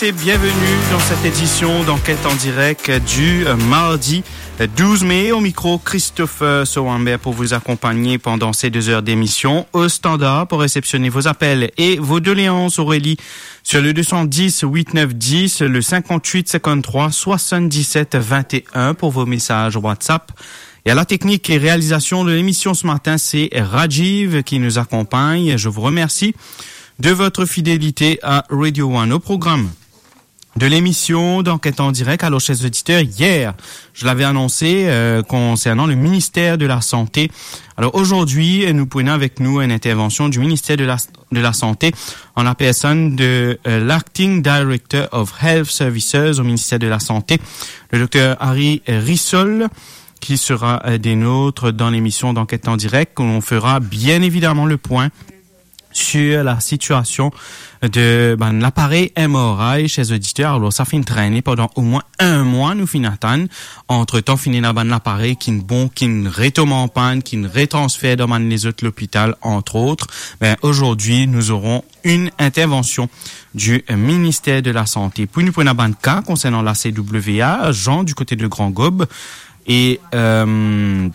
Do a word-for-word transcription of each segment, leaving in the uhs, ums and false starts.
Et bienvenue dans cette édition d'Enquête en direct du, euh, mardi, euh, douze mai. Au micro, Christopher Sowamber pour vous accompagner pendant ces deux heures d'émission. Au standard, pour réceptionner vos appels et vos doléances, Aurélie, sur le deux cent dix, huit neuf dix, le cinquante-huit cinquante-trois soixante-dix-sept vingt et un pour vos messages WhatsApp. Et à la technique et réalisation de l'émission ce matin, c'est Rajiv qui nous accompagne. Je vous remercie de votre fidélité à Radio One. Au programme de l'émission d'Enquête en direct, alors, chers auditeurs, hier, je l'avais annoncé, euh, concernant le ministère de la Santé. Alors, aujourd'hui, nous prenons avec nous une intervention du ministère de la, de la Santé en la personne de, euh, l'Acting Director of Health Services au ministère de la Santé, le docteur Harry Rissol, qui sera, euh, des nôtres dans l'émission d'Enquête en direct, où l'on fera bien évidemment le point sur la situation de, ben, l'appareil M R I, chers auditeurs. Alors, sa finn trene pandan omwin enn mwa, nou finn atann. Antretan, finn ena bann laparey ki'nn bon, ki'nn retom an pann, ki'nn retransfer dan bann lezot lopital, entre autres. Ben, aujourd'hui, nous aurons une intervention du ministère de la Santé. Puis nou pou ena bann ka konsernan la C W A, Jean du côté de Grand Gaube et, euh,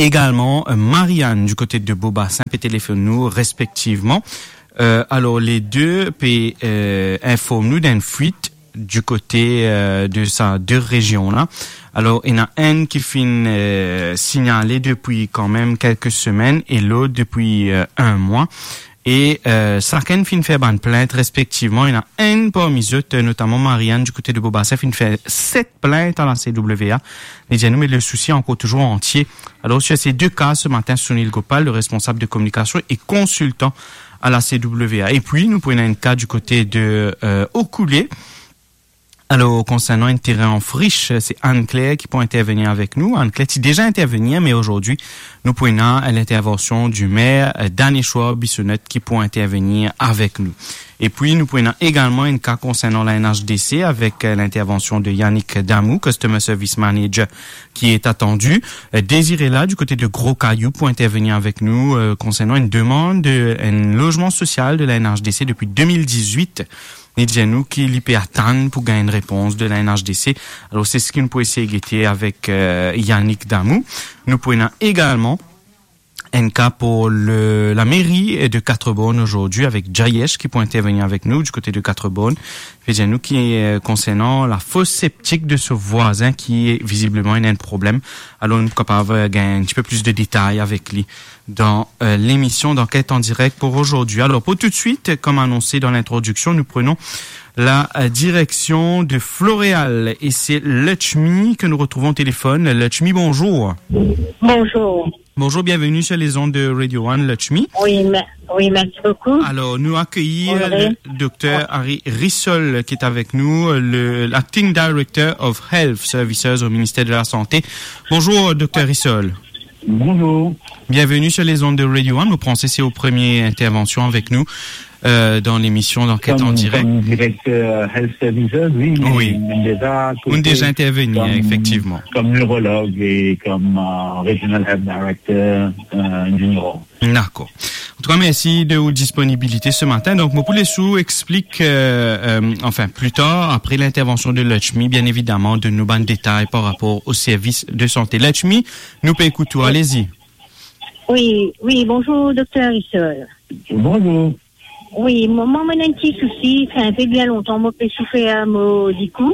également, euh, Marianne du côté de Beaubassin pe telefonn nou respektivman. Euh, alors, les deux pe, euh, inform nou d'enn fuit du côté, euh, de sa de rezion la. Alors, ena enn ki finn, euh, signalé depuis quand même quelques semaines et l'autre depuis, euh, un mois. E, euh, sakenn finn fer bann plint respektivman. Ena enn parmi zot, euh, notamman Marianne du côté de Beaubassin, finn fer set plint a la C W A. Li dir nou, me le sousi ankor touzour antie. Alors, sur ces deux cas, ce matin, Sunil Gopal, le responsable de communication et consultant à la C W A. Et puis, nou pou ena enn ka du côté de, euh, Okoulé. Alors, konsernan enn terin an frish, se Anne-Claire ki pou intervenir avek nou. Anne-Claire ti deza intervenir, me azordi, nou pou ena lintervansion du maire, euh, Daneshwar Bissonnette ki pou intervenir avek nou. E pi, nou pou ena egalman enn ka konsernan la N H D C avek, euh, lintervansion de Yannick Damou, Customer Service Manager, ki est attendu. Euh, Désiré la, du côté de Gros Caillou, pou intervenir avek nou, euh, konsernan enn demann de, enn lozman sosial de la N H D C depuis deux mille dix-huit. Li dir nou ki li pe atann pou gagn enn repons de la N H D C. Alors, c'est ce ki nou pou esey gete avek, euh, Yannick Damou. Nou pou ena egalman enn ka pou le, la mairie de Quatre-Bornes aujourd'hui avec Jayesh ki pou intervenir avek nou du côté de Quatre-Bornes. Pe dir nou ki, euh, konsernan la fosse septique de son voisin ki vizibleman ena enn problem. Alors, nou kapav, euh, gagn un petit peu plus de détails avec lui dans, euh, l'émission d'Enquête en direct pour aujourd'hui. Alors, pour tout de suite, comme annoncé dans l'introduction, nous prenons la, euh, direction de Floréal et c'est Lutchmi que nous retrouvons au téléphone. Lutchmi, bonjour. Bonjour. Bonjour, bienvenue sur les ondes de Radio One, Lutchmi. Oui, mer-, oui, merci beaucoup. Alors, nous accueillons, euh, Honoré, le docteur Harry Rissol qui est avec nous, euh, le, l'acting director of Health Services au ministère de la Santé. Bonjour, docteur Rissol. Bonjour. Bienvenue sur les ondes de Radio One. Nou panse se ou premie intervansion avek nou, euh, dan lemisyon d'Enquête en direct. Comme, comme directeur Health Services, oui, mais, oui, mais déjà, ou deza interveni, comme, efektivman, comme neurologue et comme, euh, Regional Health Director, euh, du Nord. Dakor. Antouka, mersi de ou disponibilite se matin. Donk, mo pou les ou explik, euh, euh, enfin, plus tard, après l'intervention de Lutchmi, bien évidemment, donn nou bann detay par rapport au service de santé. Lutchmi, nou pe ekout ou, allez-y. Oui, oui, bonjour, docteur Rissol. Bonjour. Oui, mo, mo, mo ena enn ti sousi, sa enn pe bien lontan, mo pe soufer mo likou,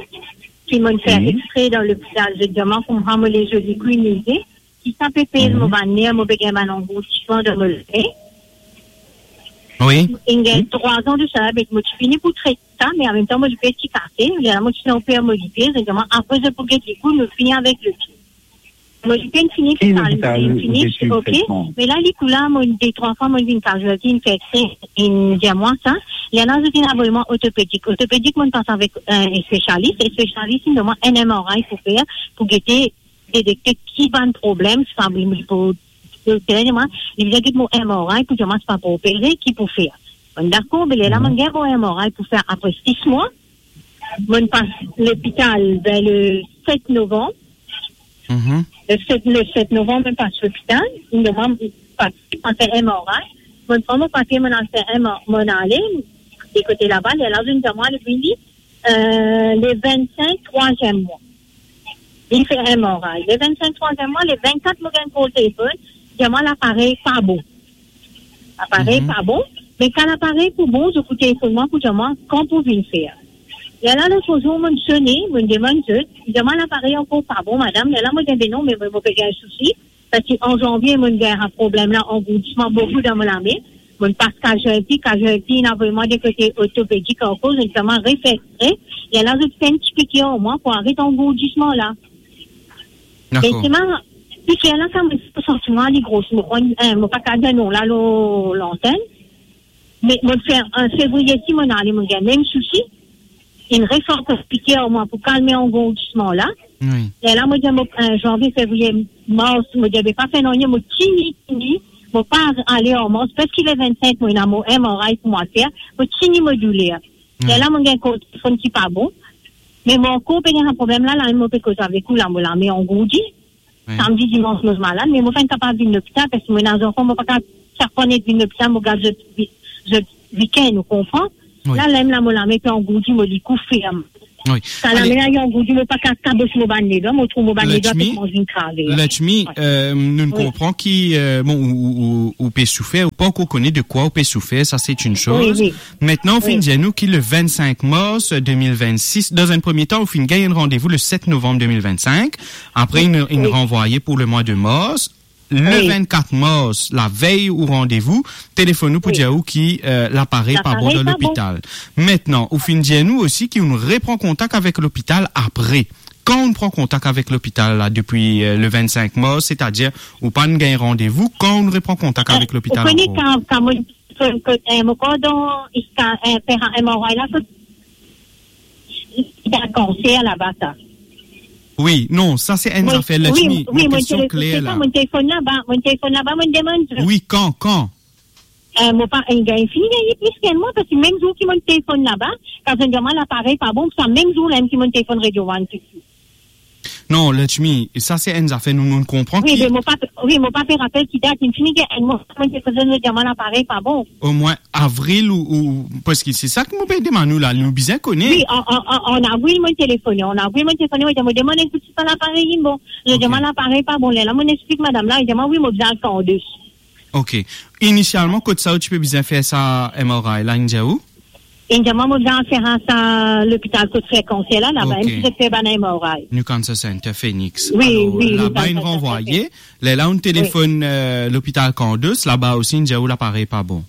ki mo'nn fer, oui, exprès dan lopital, zot dir mwa kouma mo lezo likou inn mize, ki sa pe pez, mhm, mo bann ner, mo pe gagn bann angourdisman dan mo ler. Oui. Inn gagn, mhm, trwa an de sa, be mo ti fini pou tret sa, me anmemtan mo liper ti kase, lerla mo ti ena oper mo liper, zot dir mwa apre zot pou get likou, nou fini avek likou. Mo liper inn fini, ki lopital ou pe suiv tretman? Me la, likou la, mo de trwa fwa mo vinn casualty, inn fer exprès, inn dir mwa sa. Lerla zot inn avoy mwa ortopedik. Ortopedik, mo'nn pas avek, euh, enn spesialis. Enn spesialis inn donn mwa enn M R I pou fer, pou gete, detekte ki bann problem, si pa li pou, li pou dir mwa, li bizin get mo M R I pou dir mwa si pa pou opere, ki pou fer. Bon, dakor, be lerla, mhm, mo'nn gagn mo M R I pou fer apre sis mwa. Mo'nn pas lopital ver le set novanm. Mhm. Le set, le set novanm, mo'nn pas lopital. Inn donn mwa papie, mo'nn fer M R I. Mo'nn pran mo papie, mo'nn al fer M R I, mo'nn ale, de kote laba, lerla zot inn dir mwa, li vini, euh, le vingt-cinq, troisième mois. Li fer M R I. Le vingt-cinq, troisième mois, le vingt-quatre, mo gagn call telefon, dir mwa laparey pa bon. Laparey pa bon, me kan laparey pou bon, zot pou telefonn mwa pou dir mwa kan pou vinn fer. Lerla lot zour, mo sone, mo demann zot, dir mwa laparey ankor pa bon, madam. Lerla mo dir, be non, me mo, mo pe gagn sousi. Parski an zanvie, mo gagn problem la, angourdisman boukou dan mo lame. Mo pas kaz-, kazwalti, kazwalti inn avoy mwa de kote ortopedik ankor, zot dir mwa refer X-ray. Lerla zot fer enn ti pikir ar mwa pou aret angourdisman la. Dakor. Me selman, pikir la, sa mo santi mwa li gros. Mo, eh, mo pa kapav dir non la lor lantenn. Me mo fer, an fevriye, si mo ale, mo gagn mem sousi. Inn refer ankor pikir ar mwa pou kalme angourdisman la. Wi. Lerla mo dir, mo, eh, zanvie, fevriye, mars, mo dir, be pa fer nanye, mo tini, tini, mo pa ale ar mars, parski le vingt-cinq, mo ena mo M R I pou mwa fer, mo tini mo douler. Wi. Lerla mo gagn call telefon ki pa bon. Me mo ankor pe gagn problem la, la mo pe koz avek ou la, mo lame angourdi. Wi. Samdi, dimans, mo malad, me mo finn kapav vinn lopital, parski mo ena zanfan, mo pa kapav sak fwa net vinn lopital, mo gard zot vi-, zot weekend, ou konpran? Wi. La, lerla mo lame pe angourdi, mo likou ferm. Wi. Kan lame la inn angourdi, mo pa kapav kabos mo bann ledwa, mo trouv mo bann ledwa pe koumans vinn krave. Lakshmi, euh, nou konpran ki, euh, bon, ou, ou, ou, ou pe soufer, ou pa ankor kone de kwa ou pe soufer, sa se enn soz. Wi, wi. Mintnan, ou finn dir nou ki le vingt-cinq mars deux mille vingt-six, dan enn premie tan, ou finn gagn enn randevou le sept novembre deux mille vingt-cinq. Apre, inn, inn ranvwaye pou le mwa de mars. Le vingt-quatre mars, lavey ou randevou, telefonn nou pou dir ou ki, euh, laparey pa bon dan lopital. Mintnan, ou finn dir nou osi ki ou repran kontak avek lopital apre. Kan ou pran kontak avek lopital la, depi, euh, le vingt-cinq mars, setadir ou pa'nn gagn randevou, kan ou repran kontak avek lopital ankor? Kan, kan mo, eh, mo kor dan, iska, eh, fer M R I la, kot, iska kanser laba sa. Wi, non, sa se enn zafer, Lakshmi, mo kestion kler la. Mo telefonn laba, mo telefonn laba, mo demann. Wi, kan, kan? Eh, mo pa, eh, gagn, fini gagn plis ki enn mwa, parski mem zour ki mo telefonn laba, kan zot dir mwa laparey pa bon, sa mem zour la mem ki mo telefonn Radio One. Non, Lakshmi, sa se enn zafer nou, nou konpran. Wi, ki me mo pa, wi, mo pa pe rapel ki dat, inn fini gagn enn mwa, mo telefonn, zot dir mwa laparey pa bon. Omwin avril ou, ou, parski se sa ki mo pe demann ou la, nou bizin kone. Wi, an, an, an, an avril mo telefone, an avril mo telefone, mo dir, mo demann enn kout sipar laparey, inn bon. Zot dir mwa laparey pa bon, lerla mo explik madam la, li dir mwa, wi, mo bizin al Candus. Ok. Inisialman, kot sa ou ti pe bizin fer sa M R I la, inn dir ou? Inn dir mwa, mo bizin fer sa lopital kot fer kanser la, laba, mem si zot fer bann M R I. New Cancer Center, Phoenix. Wi, wi, alor, laba inn ranvwaye. Lerla ou telefonn, euh, lopital Candus, laba osi, inn dir ou laparey pa bon.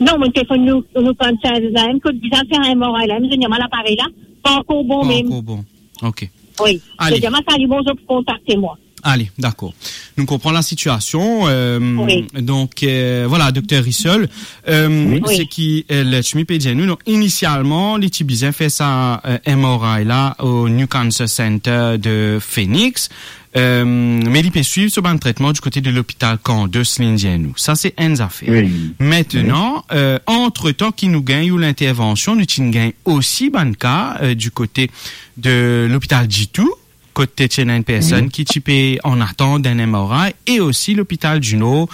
Non, mo telefonn nou, nou kanser la, mem kot bizin fer M R I la, mem zot dir mwa laparey la pa ankor bon mem. Pa ankor bon. Ok. Wi. Ale. Zot dir mwa sa li bon, zot pou kontakte mwa. Ale, dakor. Nou konpran lasitiasion, euh, donk, euh, vwala, Dokter Rissol, euh, seki, euh, Lakshmi pe dir nou, donk, inisialman, li ti bizin fer sa, euh, M R I la o New Cancer Center de Phoenix, euh, me li pe swiv so bann tretman di kote de lopital Candus, li dir nou. Sa se enn zafer. Wi. Mintnan, euh, antretan ki nou gagn ou lintervansion, nou ti gagn osi bann ka, euh, di kote de lopital Ditou, kot ti ena enn personn ki ti pe an atant enn M R I, e osi lopital di Nor,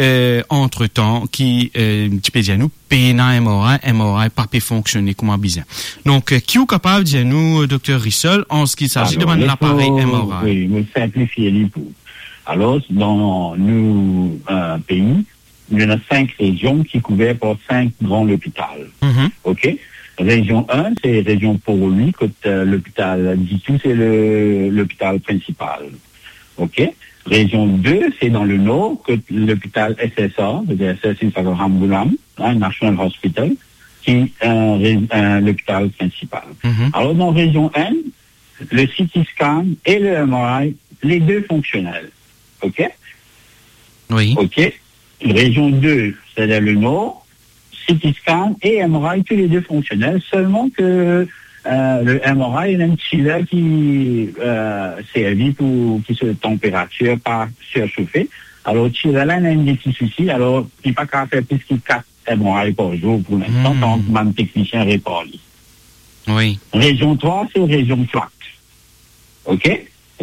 euh, antretan, ki, euh, ti pe dir nou pena M R I, M R I pa pe fonksione kouma bizin. Donk, euh, ki ou kapav dir nou, Dokter Rissol, an se ki saji de bann laparey M R I? Wi, mo sinplifie li pou. Alor, dan nou, euh, pei, nou ena sink rezion ki kouver par sink gran lopital. Ok? Rezion enn, se rezion Port-Louis, kot, euh, lopital Ditou, se le, lopital prinsipal. Ok? Rezion de, se dan le nor, kot lopital S S R, sedir S S R, se sa, Ramgoolam, hein, National Hospital, ki, euh, re-, euh, lopital prinsipal. Alor, dan rezion enn, le C T scan e le M R I, le de fonksionel. Ok? Wi. Ok. Rezion de, sedir le nor, C T scan e M R I, tou le de fonksionel, selman ke, euh, le M R I, ena enn chiller ki, euh, servi pou ki so tanperatir pa sirsofe. Alor, chiller la, ena enn ti sousi, alor, li pa kapav fer plis ki kat M R I par zour pou linstan, tan ki bann teknisien repar li. Wi. Rezion trwa, se rezion flat. Ok?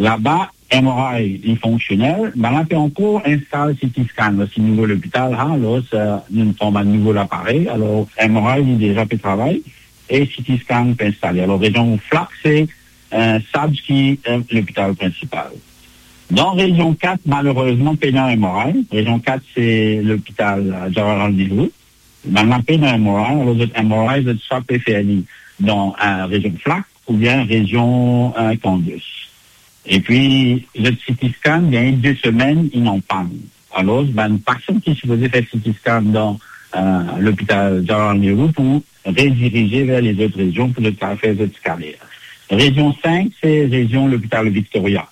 Laba, M R I, li fonksionel, me la pe ankor instal C T scan, dan se nouvo lopital, hein, alor, euh, nou pran bann nouvo laparey, alor, M R I, li deza pe travay, e CT scan pe instale. Alor, rezion flak, se, eh, SABS ki, eh, lopital prinsipal. Dan rezion kat, malerezman, pena M R I. Rezion kat, se lopital, eh, Jawaharlal Nehru. Bann la pena M R I, alor zot M R I, zot swa pe fer li dan, eh, rezion flak oubien rezion, eh, Candius. Epi, zot CT scan, gagn de semenn, inn an pann. Alor, bann pasian ki sipoze fer CT scan dan, eh, lopital Jawaharlal Nehru pou redirize ver lezot rezion pou zot kapav fer zot scanner. Rezion sink, se rezion lopital Victoria.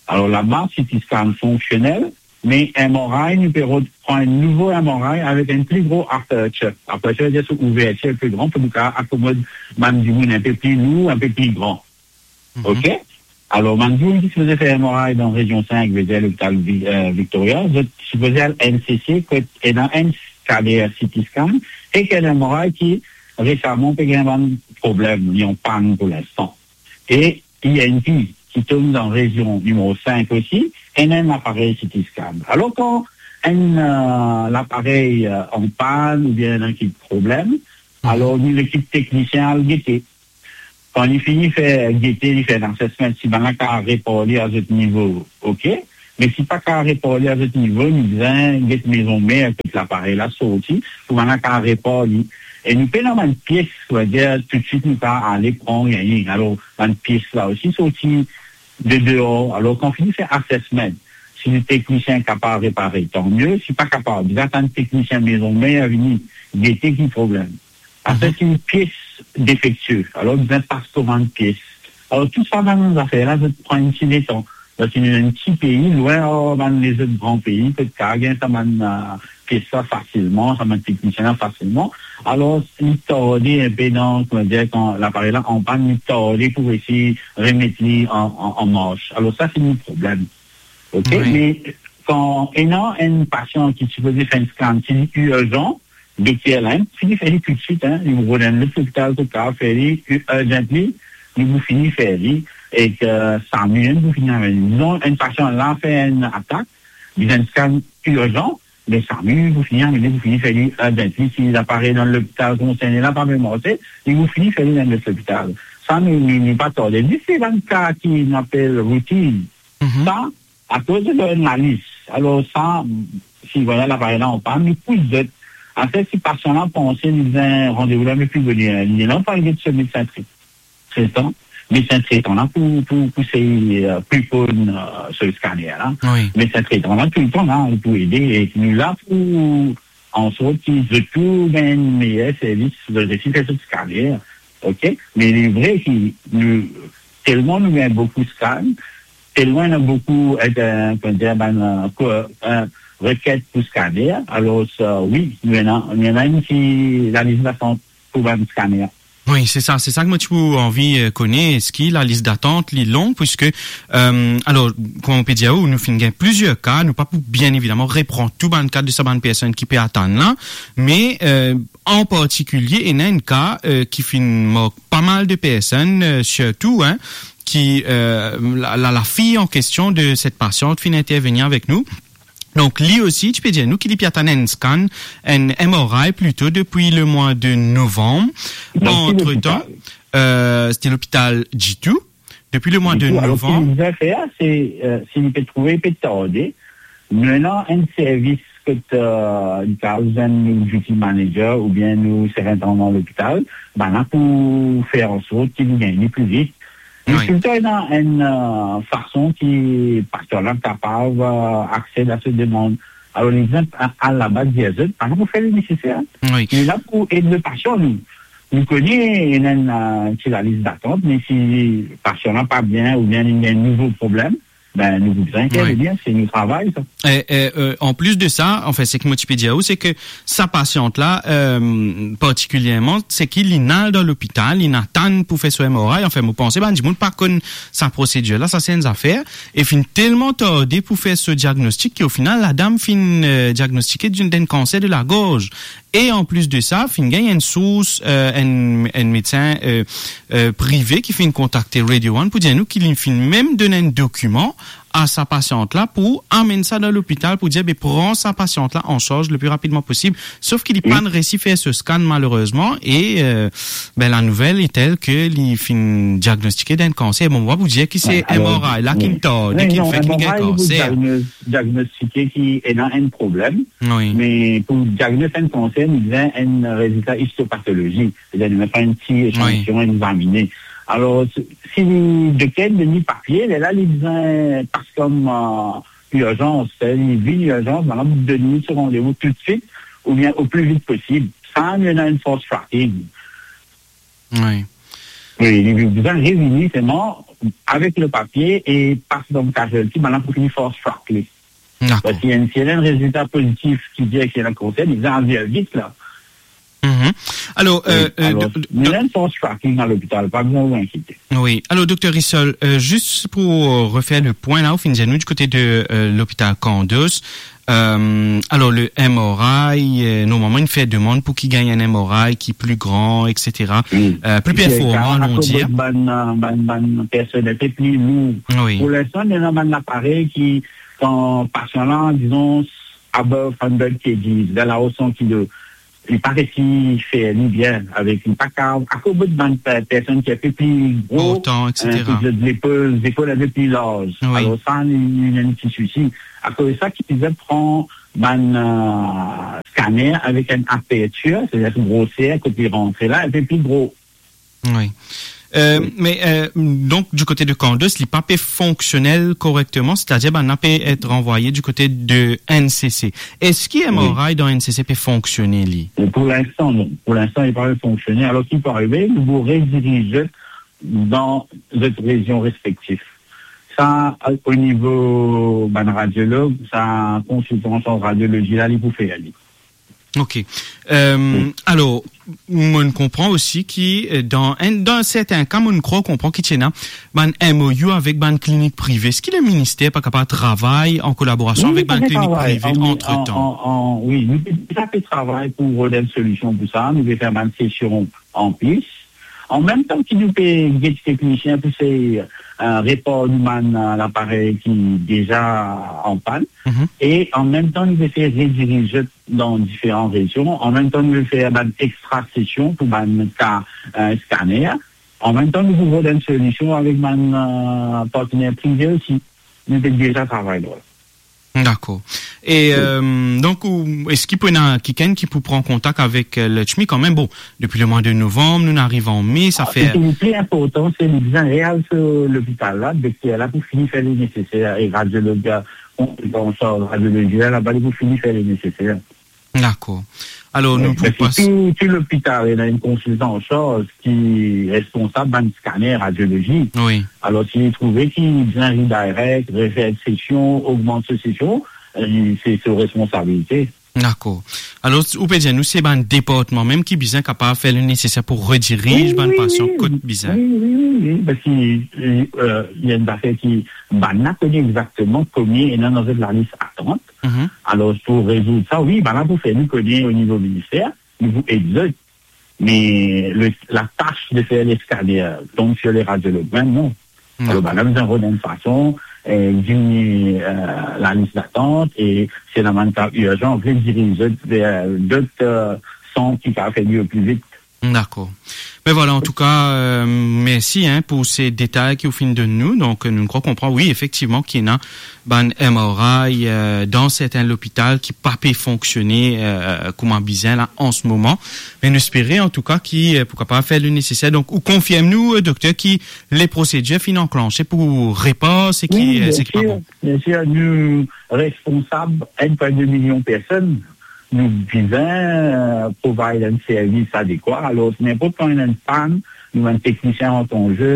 Alor, laba, CT scan fonksionel, me M R I, nou pe rod pran enn nouvo M R I avek enn pli gro aperture. Aperture, vedir se ouvertir pli gran pou nou kapav akomod bann dimoun inpe pli lour, inpe pli gran. Mhm. Ok? Alor, bann dimoun ki sipoze fer M R I dan rezion sink, vedir lopital Vi-, eh, Victoria, zot sipoze al N C C, kot ena enn scanner CT scan, ek enn M R I ki resaman pe gagn bann problem, li an pann pou linstan. E E N T, ki tom dan rezion nimero sink osi, ena enn aparey CT scan. Alor, kan enn, eh, laparey, eh, an pann oubien ena enn problem, mhm, alor nou lekip teknisien al gete. Kan li fini fer gete, li fer enn assessment, si bann la kapav repar li a zot nivo, ok. Me si pa kapav repar li a zot nivo, nou bizin get mezon mer kot laparey la sorti, pou bann la kapav repar li. E nou pena bann pies, savedir toutswit nou kapav ale pran, gagn. Alor, bann pies la osi sorti de deor. Alor, kan fini fer assessment, si le teknisien kapav repare, tan mie. Si pa kapav, bizin atann teknisien mezon mer vini gete ki problem. Apre, mhm, si enn pies defektie, alor bizin pas komann pies. Alor, tou sa bann zafer la, zot pran enn ti letan. Parski nou enn ti pei, lwin ar bann lezot gran pei, kot kapav gagn sa bann, eh, pies la fasilman, sa bann teknisien la fasilman. Alor, li tarde inpe dan, kouma dir, kan laparey la an pann, li tarde pou resi remet li an, an, an mars. Alor, sa, se enn problem. Ok? Wi. Me kan ena enn pasian ki sipoze fer enn scan, si li irzan, dokter la, fini fer li toutswit, hein, li pou rod enn lot lopital, kot kapav fer li, urgently, li pou fini fer li, ek, eh, SAMU, hein, pou fini amenn li. Dizon, enn pasian la fer enn atak, bizin scan irzan, me SAMU pou fini amenn li, pou fini fer li urgently. Si laparey dan lopital konserni la pa pe marse, li pou fini fer li dan lot lopital. Sa, nou, nou, nou pa tarde. Zis se bann ka ki nou apel routine. Mhm. Sa, akoz li donn lalis. Alor sa, si vwala laparey la an pann, nou pous zot. Apre, si pasian la panse li bizin randevou la, me pi boner, li la, pa get so medsin tre-, tretan. Medsin tretan la pou, pou, pou sey, eh, prepone, eh, so scanner la. Wi. Medsin tretan la, touletan la, li pou ede. E nou la pou ansort ki zot tou gagn meyer servis, zot resi fer zot scanner. Ok? Me li vre ki nou, telman nou gagn boukou scan, telman ena boukou, eh, eh, kouma dir, bann, eh, ko-, eh, reket pou scanner. Alor, eh, wi, nou ena, nou ena enn ti lalis datant pou bann scanner. Wi, se sa, se sa ki mo ti pou anvi, eh, kone, eski lalis datant li long, puiske, eh, alor, kouma mo pe dir ou, nou finn gagn plizier ka, nou pa pou, bien evidaman, repran tou bann ka de sa bann personn ki pe atann la, me, eh, an partikilie, ena enn ka, eh, ki finn mark pa mal de personn, eh, sirtou, hein, ki, eh, la, la, lafi an kestion de set pasiant finn intervenir avek nou. Donk, li osi, ti pe dir nou ki li pe atann enn scan, enn M R I plito, depi lemwa de novanm. Dan ki lopital? Antretan, eh, se te lopital Jitou. Depi lemwa de novanm. Alor, ki nou bizin fer, se, eh, si nou pe trouve pe tarde, nou ena enn servis kot, eh, nou kapav zwenn nou duty manager oubien nou sirintandan lopital, bann la pou fer ansort ki nou gagn li pli vit. Wi. Touletan ena enn, eh, fason ki pasian la kapav, eh, aksed a so demann. Alor, li bizin al, al laba dir zot, bann la pou fer le neseser. Wi. Nou la pou ed le pasian, nou. Nou kone ena enn, eh, ti lalis datant, me si pasian la pa bien oubien li ena enn nouvo problem, ben, nou bizin intervenir, se nou travay, sa. E, e, e, an plis de sa, anfin, seki mo ti pe dir ou, se ki sa pasiant la, e, partikilierman, seki li al dan lopital, li atann pou fer so M R I, anfin, mo panse bann dimoun pa konn sa prosedir la, sa se enn zafer, e finn telman tarde pou fer so diagnostik ki, o final, ladam finn, e, diagnostike d'enn, d'enn kanser de lagorz. E an plis de sa, finn gagn enn sours, e, enn, enn medsin, e, e, prive ki finn kontakte Radio One pou dir nou ki li finn mem donn enn dokiman a sa pasiant la pou amenn sa dan lopital pou dir, be, pran sa pasiant la an sarz le pli rapidman posib. Sof ki li pa'nn resi fer so scan, malerezman, e, euh, ben, la nouvel est telle ke li finn diagnostike d'enn kanser. Bon, mwa pou dir ki se M R I la ki'nn tarde, ki'nn fer ki li gagn kanser. Diagnostike ki ena enn problem, me pou diagnostike enn kanser, li bizin enn rezilta istopatolozi, setadir nou pran enn ti echantiyon, examine. Alor, si, si dokter donn li papie, lerla li bizin pas kom, euh, irzans, setadir li vinn irzans, bann la pou donn li so randevou toutswit, oubien o pli vit posib. Sa, nou ena enn fast tracking. Wi. Wi, li bizin revini selman avek le papie e pas dan casualty, bann la pou fini fast track li. Dakor. Parski enn, si ena enn rezilta pozitif ki dir ki ena kanser, li bizin al vit la. Mhm. Alor, euh, euh, alor, do-, nou ena enn fast tracking a lopital, pa bizin ou enkiete. Wi. Alor, Dokter Rissol, euh, zis pou, euh, refer le pwin la, ou finn dir nou di kote de, euh, lopital Kandos, Euh, alor, le M R I, euh, normalman, inn fer demann pou ki gagn enn M R I ki pli gran, et cetera. Wi. Euh, pli performan, on dir. Akoz bann, euh, bann, bann personel pe pli lour. Wi. Pou linstan, nou ena bann laparey ki, kan pasian la, dizon, above hundred kilog, dan lao san kilo, li pa resi fer li bien avek li, pa kapav, akoz bann pe-, personn ki enpe pli gro, portan, euh, et cetera. Ki zot lepol, zepol enpe pli larz. Wi. Alor sa, li, li ena enn ti sousi. Akoz sa ki bizin pran bann, euh, scanner avek enn apertir, setadir groser kot li rantre la, enpe pli gro. Wi. Euh, wi. Me, euh, donk, di kote de Kandos, li pa pe fonksionel korekteman, setadir bann la pe et ranvwaye di kote de N C C. Eski M R I dan N C C pe fonksione, li? Wi. Pou linstan, non. Pou linstan, li pa pe fonksione. Alor, ki pou arive, nou pou rediriz zot dan zot rezion respektif. Sa, o nivo bann radiolog, sa konsiltan an sarz radiolozi la, li pou fer li. Ok. Euh, alor, mo'nn konpran osi ki, euh, dan enn, dan serten ka, mo'nn krwar konpran ki ti ena bann M O U avek bann klinik prive. Eski leminister pa kapav travay an kolaborasion avek bann klinik prive antretan? Wi, nou pe deza pe travay pou rod enn solision pou sa. Nou pe fer bann sesion an plis. An mem tan ki nou pe get teknisien pou sey, euh, repar nou bann, euh, laparey ki deza an pann. Mhm. E an mem tan, nou pe sey rediriz zot dan diferan rezion. An mem tan, nou pe fer bann extra sesion pou bann ka, euh, scanner. An mem tan, nou pou rod enn solision avek bann, euh, partner prive osi. Nou pe deza travay lor la. Dakor. E, euh, donk, ou, eski pou ena kikenn ki pou pran kontak avek, euh, Lakshmi kanmem? Bon, depi lemwa de novanm, nou ariv an me, sa fer... Ah, seki pli inportan, se li bizin al so lopital la, dokter la pou fini fer li neseser, e radiolog, euh, konsiltan an sarz radiolozi la, laba li pou fini fer li neseser. Dakor. Alor, nou pou pas... Wi, parski tou, tou lopital ena enn konsiltan an sarz ki responsab bann scanner radiolozi. Wi. Alor, si li trouve ki bizin redirect, refer sesion, ogmant so sesion, euh, se so responsabilite. Dakor. Alor, ou pe dir nou se bann departman mem ki bizin kapav fer le neseser pou rediriz bann pasian kot bizin. Wi, wi, wi, wi, wi, parski, euh, li ena enn zafer ki bann la kone exakteman konbien ena dan zot lalis atant. Mhm. Alor, pou rezoud sa, wi, bann la pou fer nou kone o nivo minister, nou pou ed zot. Me le, latas de fer le scanner tonm sir le radiolog mem, non. Alor, dakor. Bann la bizin rod enn fason, euh, diminye, euh, lalis datant, e si ena bann ka irzan, rediriz zot ver dot, euh, sant ki kapav fer li pli vit. Dakor. Me vwala, antouka, euh, mersi, hein, pou se detay ki ou finn donn nou. Donk, nou krwar konpran, wi, efektivman, ki ena bann M R I, euh, dan serten lopital ki pa pe fonksione, euh, kouma bizin la, an se moman. Me nou espere, antouka, ki, euh, pou kapav fer le neseser. Donk, ou konfirm nou, euh, dokter, ki le prosedir finn anklanse pou repar seki, euh, seki pa bon. Wi, biensir, biensir, nou responsab enn pwin de milion personn. Nou bizin, euh, provide enn servis adekwa. Alor, si ninport kan ena enn pann, nou bann teknisien rant an ze.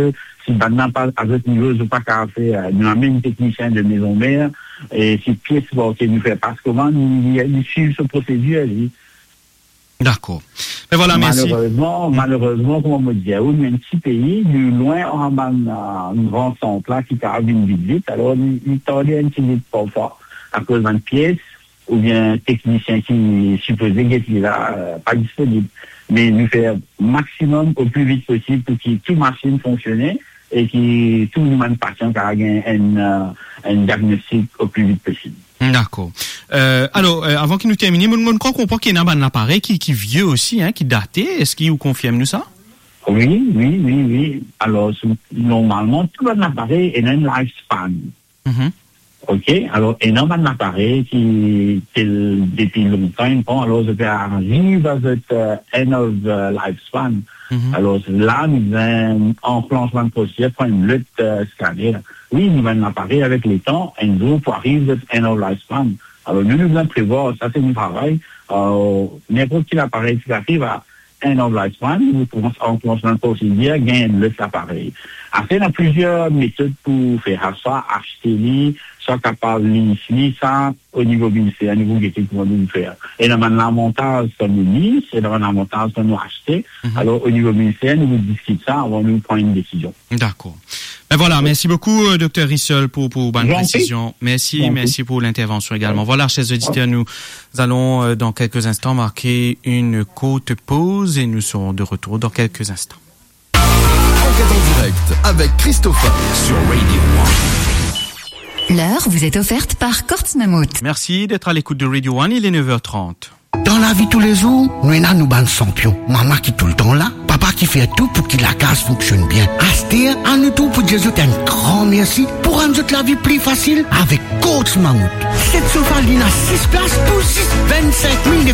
Si bann la pa, a zot nivo, zot pa kapav fer, euh, nou amenn teknisien de mezon mer, e si pies manke, nou fer pas komann, li, li, li swiv so prosedir, li. Dakor. Me vwala, mersi. Malerezman, malerezman, kouma mo dir ou, nou enn ti pei, nou lwin ar bann, euh, gran sant la ki kapav vinn vit vit. Alor, li, li tarde enn ti bit parfwa akoz bann pies, oubien teknisien ki sipoze get li la, euh, pa disponib. Me nou fer maximum o pli vit posib pou ki tou masinn fonksione, e ki tou nou bann pasian kapav gagn enn, eh, enn diagnostik o pli vit posib. Dakor. Eh, alor, eh, avan ki nou termine, mo, mo krwar konpran ki ena bann laparey ki, ki vie osi, hein, ki date. Eski ou konfirm nou sa? Wi, wi, wi, wi. Alor, sou, normalman, tou bann laparey ena enn lifespan. Mhm. Ok, alor, ena bann laparey ki, ki depi lontan, bon, alor, zot pe ariv a zot, eh, end of, eh, lifespan. Mhm. Alor, la, nou bizin anklansh bann prosedir, pran enn lot, eh, scanner. Wi, nou bann laparey avek letan, enn zour pou ariv zot end of lifespan. Alor, nou, nou bizin prevwar, sa se nou travay. Eh, ninport ki laparey ki ariv a end of lifespan, nou koumans anklansh bann prosedir, gagn enn lot laparey. Apre, ena plizier metod pou fer sa, swa aste li, swa kapav lease li, sa, o nivo minister, nou pou gete kouma nou fer. Ena bann lavantaz kan nou lease, ena bann lavantaz kan nou aste. Mhm. Alor, o nivo minister, nou pou diskit sa avan nou pran enn desizion. Dakor. Ben voilà, merci beaucoup, euh, Docteur Rissol, pour, pour votre précision. Merci, merci pour l'intervention également. Voilà, chers auditeurs, nous allons, euh, dans quelques instants marquer une courte pause et nous serons de retour dans quelques instants. Enquête en direct avec Christopher sur Radio One. L'heure vous est offerte par Courts Mammouth. Merci d'être à l'écoute de Radio One, il est neuf heures trente. Dan lavi toulezour, nou ena nou bann sanpion. Mama ki toultan la, papa ki fer tou pou ki lakaz fonksionn bien. Aster, anou tou pou dir zot enn gran mersi pou rann zot lavi pli fasil avek Courts Mammouth. Set sofa linn a sis plas pou zis vinn-sink mil nef